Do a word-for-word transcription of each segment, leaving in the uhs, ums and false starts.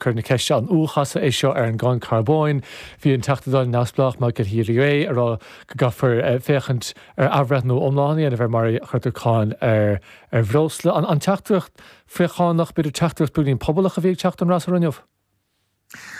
cur na ceiste an uathchasadh é seo ar an gcáin carbóin. Bhí an Teachta Dála neamhspleách Michael Healy-Rae ag rá go gcaithfear féachaint ar athbhreithniú iomlán a dhéanamh ar mar a chuirtear cáin ar ar bhreosla. An, an teachtaireacht frithchánach b'fhéidir teachtaireacht beagáinín pobalach a bhí ag teacht ón fhreasúra inniu.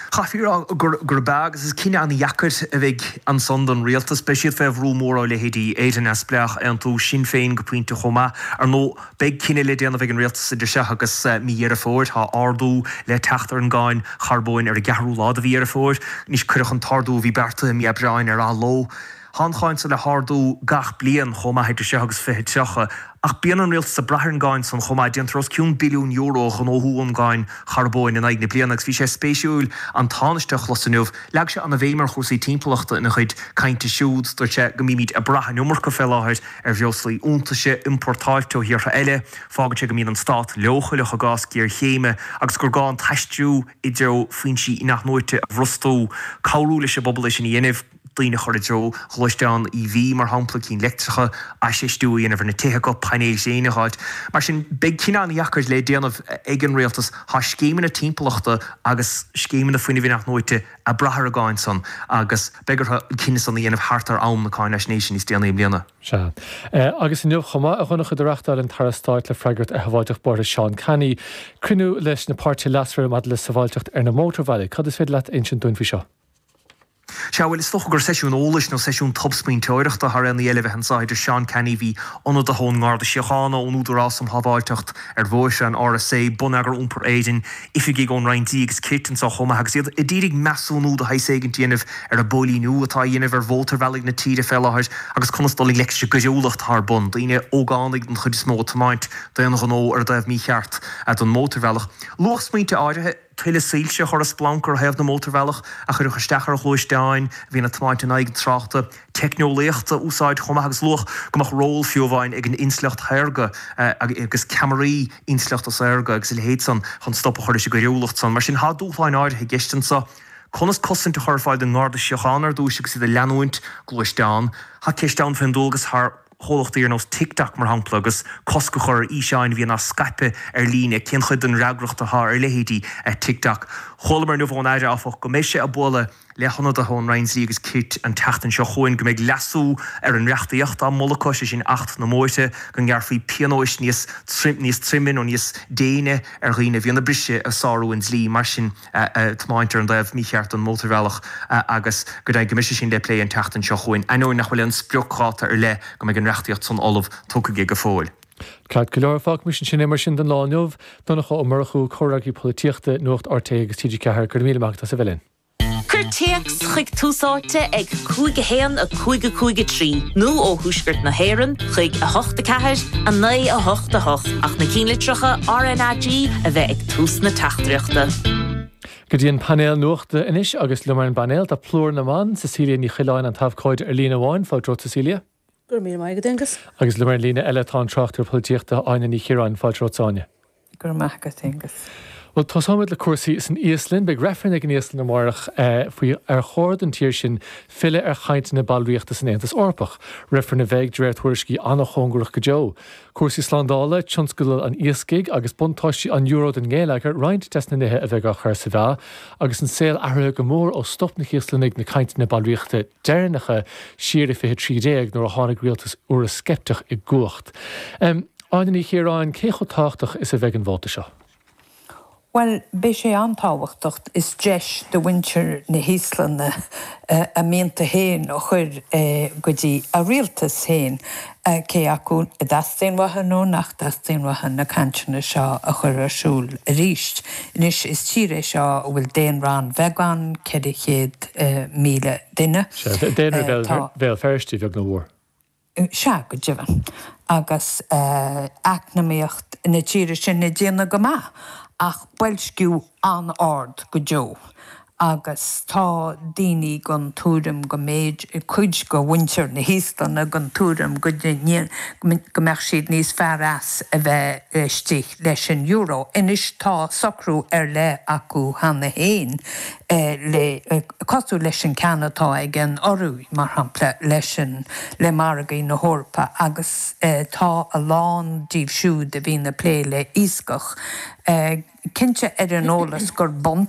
Chaithfí a rá gur gurb ea agus is cinneadh an-dheacair a bheidh ansan don rialtas. Beidh siad fé bhrú mór ó leithéidí Éire Neamhspleách, Aontú, Sinn Féin go pointe chomh maith. Ar ndóigh beidh cinneadh le déanamh ag an rialtas idir seo agus mí Dheireadh Fómhair. Tá ardú le teacht ar an gcáin charbóin ar an gceathrú lá de mhí Dheireadh Fómhair. Anois cuireadh an t-ardú a bhí beartaithe i mí Aibreáin ar athló. Tá an cháin san le hardú gach bliain chomh maith idir seo agus fiche tríocha. Ach bíonn an rialtas ag brath ar an gcáin san chomh maith. Déantar os cionn billiún euro a ghnóthú ón gcáin charbóin in aghaidh na bliana agus bhí sé spéisiúil an Tánaiste a chlos inniu. Leag sé an-bhéim ar chúrsaí timpeallachta ina chuid cainte siúd. Dúirt sé go mbímid ag brath an iomarca fé láthair ar bhreoslaí iontaise iompórtáilte ó thíortha eile. Fágann sé go mbíonn an stát leochaileach i gcás géarchéime agus gur gá an t-aistriú i dtreo foinsí inathnuaite a bhrostú, cabhrú leis an bpobal é sin a dhéanamh. daoine a chur i dtreo gluaisteán EV mar shampla cinn leictreacha, infheistiú a dhéanamh ar na tithe acu, painéil ghréine a fháilt. Mar sin beidh cinneadh an-dheacair le déanamh ag an rialtas. Tá scéimeanna timpeallachta agus scéimeanna fuinnimh inathnuaite ag brath ar an gcáin san agus beidh orthu an cinneadh san a dhéanamh thart ar am na cáinaisnéise níos déanaí i mbliana. Sea. Agus inniu chomh maith, a Dhonncha, do reáchtáil an tAire Stáit le freagracht ar shábháilteacht bóithre Seán Canney cruinniú leis na páirtithe leasmhara maidir le sábháilteacht ar na mótarbhealaí. Cad is féidir leat a insint dúinn faoi seo? Sea, bhuel, is dócha gur seisiún eolais nó seisiún tobsmaointeoireachta thar aon ní eile a bheidh anseo idir Seán Canney, bhí ionadaithe ón nGarda Síochána, ón Údarás um Shábháilteacht ar Bhóithre, an RSA, Bonneagar Iompair Éireann, oifigigh ón Roinn Dlí agus Cirt anseo chomh maith agus iad ag iarraidh measúnú de shaghas éigin a dhéanamh ar an bpóilíniú atá á dhéanamh ar mhótarbhealaigh na tíre fé láthair agus conas dul i ngleic leis an gcoiriúlacht atá ar bun, daoine, ógánaigh den chuid is mó, ag tiomáint d'aon ghnó ar an dtaobh mícheart den mhótarbhealach. Luadh smaointe áirithe. tuilleadh soilse a chur ar splanc ar thaobh na mótarbhealach a chuirfeadh isteach ar ghluaisteáin a bhíonn ag tiomáint in aghaidh an tráchta, teicneolaíocht a úsáid chomh maith agus luadh go mbeadh ról fiú amháin ag an intleacht shaorga agus ceamaraí intleachta saorga agus a leithéid san chun stop a chur leis an gcoiriúlacht san. Mar sin, tá dúshláin áirithe i gceist anseo. Conas cosaint a chur ar fáil don nGarda Síochána ar dtúis agus iad ag leanúint gluaisteán? Tá ceist ann faoin dualgas thar chomhlachtaí ar nós TikTok, mar shampla, agus cosc a chur ar fhíseáin a bhíonn á scaipeadh ar líne, cén chuid den fhreagracht atá ar leithéidí TikTok? Chualamar inniu ón Aire, áfach, go mbeidh sé ag bualadh le hionadaithe ón Roinn Dlí agus Cirt an tseachtain seo chugainn, go mbeidh leasú ar an reachtaíocht á moladh acu, sé sin Acht na mBóithre, go ngearrfaí pionóis níos níos troime nó níos déine ar dhaoine a bhíonn ag briseadh, ag sárú an dlí, mar sin. tiomáint ar an dtaobh mícheart den mhótarbhealach agus go deimhin go mbeidh sé sin le plé an tseachtain seo chugainn, ainneoin nach bhfuil aon spriocdháta ar leith go mbeidh an reachtaíocht san ullamh tugtha aige go fóill. Ceart go leor, fágfaimis ansin é mar sin don lá inniu. Donncha Ó Murchú, Comhfhreagraí Polaitíochta, Nuacht RTÉ agus TG Ceathair, go raibh míle maith agat as a bheith linn. Cuir téacs chuig Tús Áite ag cúig a haon a cúig a cúig a trí nó ó thuaisceart na hÉireann chuig a hocht a ceathair a naoi a hocht a hocht ach na cinnlitreacha RnaG a bheith ag tús na teachtaireachta. Go dtí an painéal nuachta anois agus liom ar an bpainéal tá plúr na mban, Cecilia Ní Choileáin an t-abhcóide ar líne amháin. Fáilte romhat Cecilia. Go raibh míle maith agat Aengus. Agus liom ar an líne eile tá an tráchtaire polaitíochta Áine Ní Chiaráin. Fáilte romhat Áine. Go raibh maith agat Aengus. Bhuel, tosóimid le cúrsaí san Íoslainn. Beidh reifreann ag an Íoslainn amárach faoi ar chóir don tír sin filleadh ar chainteanna ballraíochta san Aontas Eorpach. Reifreann a bheidh, de réir tuairiscí, an-chóngarach go deo. Cúrsaí slándála, tionscal an iascaigh agus buntáistí an euro don ngeilleagar roinnt des na nithe a bheidh á chur sa mheá agus an saol athraithe go mór ó stop na hÍoslannaigh na cainteanna ballraíochta deireanacha siar i fiche trí déag nuair a tháinig rialtas Eoraisceipteach i gcumhacht. Áine Ní Chiaráin, cé chomh tábhachtach is a bheidh an vóta seo? Bhuel, beidh sé an-tábhachtach. Is deis do mhuintir na hÍoslainne a mianta féin a chur go dtí a rialtas féin, cé acu a dteastaíonn uathu nó nach dteastaíonn uathu na cainteanna seo a chur ar siúl arís. Anois, is tír é seo a bhfuil daonra an-bheag ann, ceithre chéad míle duine. Sea, daonra Bhéal Feirste, a bheag nó a mhór. Sea, go deimhin. Agus eacnamaíocht na tíre sin ag déanamh go maith, ach boilsciú an-ard go deo. Agus tá daoine den tuairim go mb'fhéidir, cuid de mhuintir na hÍoslainne den tuairim go go mbeadh siad níos fearr as a bheith istigh leis an euro. Anois tá socrú ar leith acu cheana féin le, cosúil leis an ceann atá ag an Ioruaidh, mar shampla, leis an, le margaí na hEorpa agus tá a lán díobh siúd a bhíonn ag plé le iascach cinnte ar an eolas gur buntáiste